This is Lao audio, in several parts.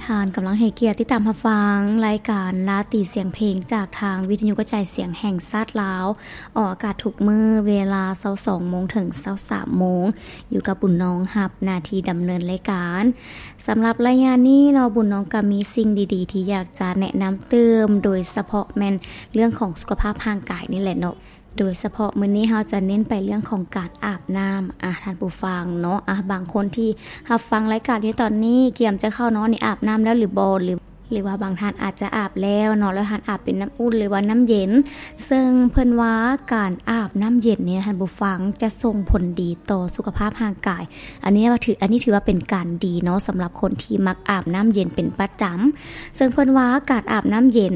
ທ່ານກຳລັງໃຫ້ກຽດຕິດຕາມຮັບຟັງລາຍການລາຕີສຽງເພງ ຈາກທາງວິທະຍຸກະຈາຍສຽງແຫ່ງຊາດລາວ, ອອກອາກາດທຸກມື້ເວລາຊາວສອງໂມງເຖິງຊາວສາມໂມງ, ຢູ່ກັບບຸນນ້ອງຮັບໜ້າທີ່ດຳເນີນລາຍການ. ສຳລັບໄລຍະນີ້ເນາະ, ບຸນນ້ອງກໍມີສິ່ງດີໆທີ່ຢາກຈະແນະນຳຕື່ມ, ໂດຍສະເພາະແມ່ນເລື່ອງຂອງສຸຂະພາບຮ່າງກາຍນີ້ແຫຼະເນາະ. ໂດຍສະເພາະມື້ນີ້ເຮົາຈະເນັ້ນໄປເລື່ອງຂອງການອາບນ້ຳ. ອາ ທ່ານຜູ້ຟັງເນາະ, ອາ ບາງຄົນທີ່ຮັບຟັງລາຍການຢູ່ຕອນນີ້ ກຽມຈະເຂົ້ານອນນີ້ ອາບນ້ຳແລ້ວຫຼືບໍ່ ຫຼື ຫຼືວ່າບາງທ່ານອາດຈະອາບແລ້ວເນາະ, ແລ້ວທ່ານອາບເປັນນ້ຳອຸ່ນ ຫຼືວ່ານ້ຳເຢັນ. ເຊິ່ງເພິ່ນວ່າການອາບນ້ຳເຢັນນີ້ ທ່ານຜູ້ຟັງ, ຈະສົ່ງຜົນດີຕໍ່ສຸຂະພາບຮ່າງກາຍ. ອັນນີ້ວ່າຖື ອັນນີ້ຖືວ່າເປັນການດີເນາະ, ສຳລັບຄົນທີ່ມັກອາບນ້ຳເຢັນເປັນປະຈຳ. ເຊິ່ງເພິ່ນວ່າການອາບນ້ຳເຢັນ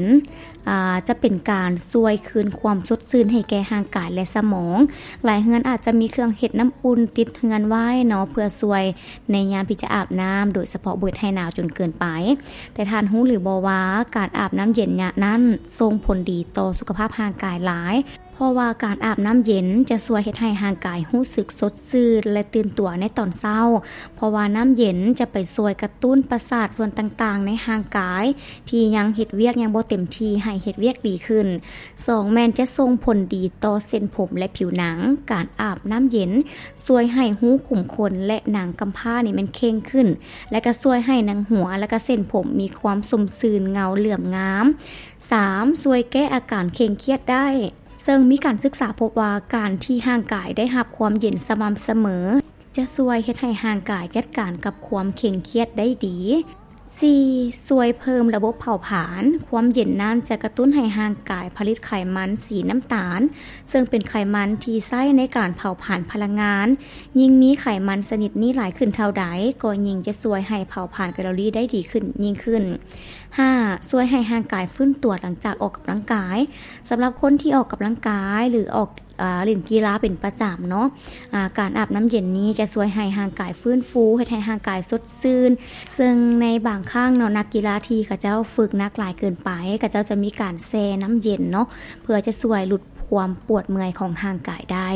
ອາ ຈະເປັນການຊ່ວຍຄືນຄວາມສົດຊື່ນໃຫ້ແກ່ຮ່າງກາຍ ແລະ ສະໝອງ. ຫຼາຍເຮືອນອາດຈະມີເຄື່ອງເຮັດນ້ຳອຸ່ນຕິດເຮືອນໄວ້ເນາະ, ເພື່ອຊ່ວຍໃນຍາມທີ່ຈະອາບນ້ຳ, ໂດຍສະເພາະບໍ່ເຮັດໃຫ້ໜາວຈົນເກີນໄປ. ແຕ່ທ່ານຮູ້ຫຼືບໍ່ວ່າ ການອາບນ້ຳເຢັນຍາມນັ້ນສົ່ງຜົນດີຕໍ່ສຸຂະພາບຮ່າງກາຍຫຼາຍ, ເພາະວ່າການອາບນ້ຳເຢັນຈະຊ່ວຍເຮັດໃຫ້ຮ່າງກາຍຮູ້ສຶກສົດຊື່ນ ແລະ ຕື່ນຕົວໃນຕອນເຊົ້າ, ເພາະວ່ານ້ຳເຢັນຈະໄປຊ່ວຍກະຕຸ້ນປະສາດສ່ວນຕ່າງໆໃນຮ່າງກາຍ ທີ່ຍັງເຮັດວຽກຍັງບໍ່ເຕັມທີ່ໃຫ້ເຮັດວຽກດີຂຶ້ນ. ສອງ ແມ່ນຈະສົ່ງຜົນດີຕໍ່ເສັ້ນຜົມ ແລະ ຜິວໜັງ. ການອາບນ້ຳເຢັນຊ່ວຍໃຫ້ຮູຂຸມຂົນ ແລະ ໜັງກຳພ້ານີ້ແມ່ນເຄັ່ງຂຶ້ນ ແລະ ກໍຊ່ວຍໃຫ້ໜັງຫົວ ແລະ ກໍເສັ້ນຜົມມີຄວາມຊົມຊື່ນ ເງົາເຫຼື້ອມງາມ. ສາມ ຊ່ວຍແກ້ອາການເຄັ່ງຄຽດໄດ້. ເຊິ່ງມີການສຶກສາພົບວ່າ ການທີ່ຮ່າງກາຍໄດ້ຮັບຄວາມເຢັນສະໝ່ຳສະເໝີ ຈະຊ່ວຍເຮັດໃຫ້ຮ່າງກາຍຈັດການກັບຄວາມເຄັ່ງຄຽດໄດ້ດີ. ສີ່ ຊ່ວຍເພີ່ມລະບົບເຜົາຜານ. ຄວາມເຢັນນັ້ນຈະກະຕຸ້ນໃຫ້ຮ່າງກາຍຜະລິດໄຂມັນສີນ້ຳຕານ, ເຊິ່ງເປັນໄຂມັນທີ່ໃຊ້ໃນການເຜົາຜານພະລັງງານ. ຍິ່ງມີໄຂມັນຊະນິດນີ້ຫຼາຍຂຶ້ນເທົ່າໃດ, ກໍຍິ່ງຈະຊ່ວຍໃຫ້ເຜົາຜານແຄລໍຣີໄດ້ດີຂຶ້ນຍິ່ງຂຶ້ນ. ຫ້າ ຊ່ວຍໃຫ້ຮ່າງກາຍຟື້ນຕົວຫຼັງຈາກອອກກຳລັງກາຍ. ສຳລັບຄົນທີ່ອອກກຳລັງກາຍ ຫຼື ອອກ ອາ ຫຼິ້ນກິລາເປັນປະຈຳເນາະ, ອາ ການອາບນ້ຳເຢັນນີ້ຈະຊ່ວຍໃຫ້ຮ່າງກາຍຟື້ນຟູ, ເຮັດໃຫ້ຮ່າງກາຍສົດຊື່ນ. ເຊິ່ງໃນບາງຄັ້ງເນາະ, ນັກກິລາທີ່ເຂົາເຈົ້າຝຶກໜັກຫຼາຍເກີນໄປ, ເຂົາເຈົ້າຈະມີການແຊ່ນ້ຳເຢັນເນາະ, ເພື່ອຈະຊ່ວຍຫຼຸດຄວາມປວດເມື່ອຍຂອງຮ່າງກາຍໄດ້.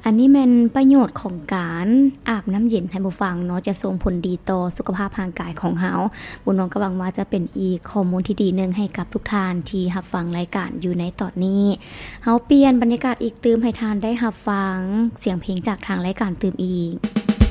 ອັນນີ້ແມ່ນປະໂຫຍດຂອງການອາບນ້ຳເຢັນ ທ່ານຜູ້ຟັງເນາະ, ຈະສົ່ງຜົນດີຕໍ່ສຸຂະພາບຮ່າງກາຍຂອງເຮົາ. ບຸນນ້ອງກໍຫວັງວ່າຈະເປັນອີກຂໍ້ມູນທີ່ດີໜຶ່ງໃຫ້ກັບທຸກທ່ານທີ່ຮັບຟັງລາຍການຢູ່ໃນຕອນນີ້. ເຮົາປ່ຽນບັນຍາກາດອີກຕື່ມ ໃຫ້ທ່ານໄດ້ຮັບຟັງສຽງເພງຈາກທາງລາຍການຕື່ມອີກ.